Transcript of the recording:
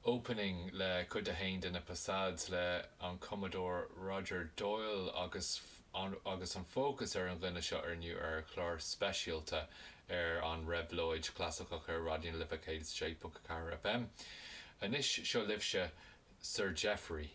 Opening le cuid a haon de na Passades le an cumadóir Roger Doyle agus agus an fócas ar an dhuine seo inniu ar chlár speisialta ar an Réabhlóid Chlasaiceach ar Raidió na Life 106.4 FM. Anois seo libhse Sir Geoffrey.